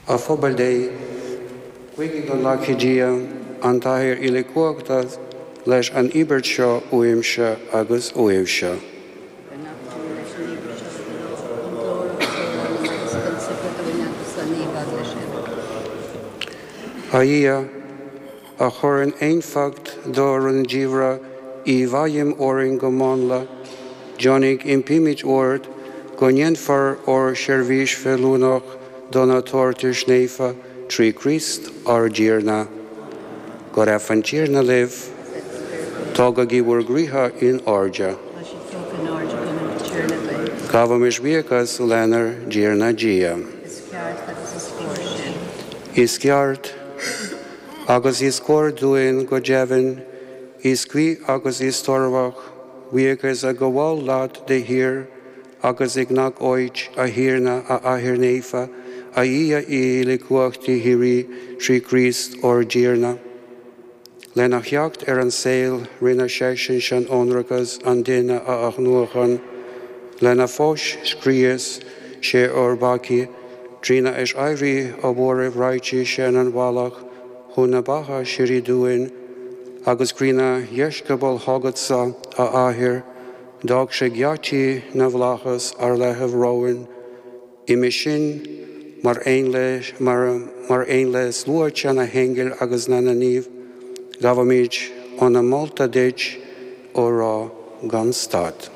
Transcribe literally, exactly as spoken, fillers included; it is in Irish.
A phobal Dé, guígí go nglacfaidh Dia an tAthair uilechumhachtach leis an íobairt seo uaimse agus uaibhse. Go nglacfaidh tú leis an íobairt seo de do lámh, don ghlóir agus don onóir agus don saibhreas dúinn agus don naomh-Eaglais uile. A Dhia, a chuireann éifeacht do rúndiamhra i bhfeidhm orainn go mánla, deonaigh impímid ort go ndéanfar ár seirbhís feiliúnach do na tabhartais naofa trí Chríost ár dTiarna. Go raibh an Tiarna libh, tógaigí bhur gcroíthe in airde. Tá siad tógtha in airde againn don Tiarna duit. Gabhaimis buíochas lenár dTiarna Dia. Is ceart agus is cóir sin. Is ceart agus is cóir dúinn go deimhin, is cuí agus is tairbheach, buíochas a ghabháil leat de shíor agus i ngach áit a Thiarna a Athair Naofa, a Dhia uilechumhachtaigh shíoraí trí Chríost ár dTiarna. Lena theacht ar an saol rinne seisean sean-ionracas an duine a athnuachan, lena pháis scrios sé ár bpeacaí, trína aiséirí ó mhairbh réitigh sé an bealach chun na beatha síoraí dúinn, agus trína dheisceabail chugatsa, a Athair, d'fhág sé geataí na bhflaitheas ar leathnú romhainn, uime sin mar aon le mar, mar aon le sluaite na n-aingeal agus na naomh, gabhaimid ár molta duit á rá gan stad.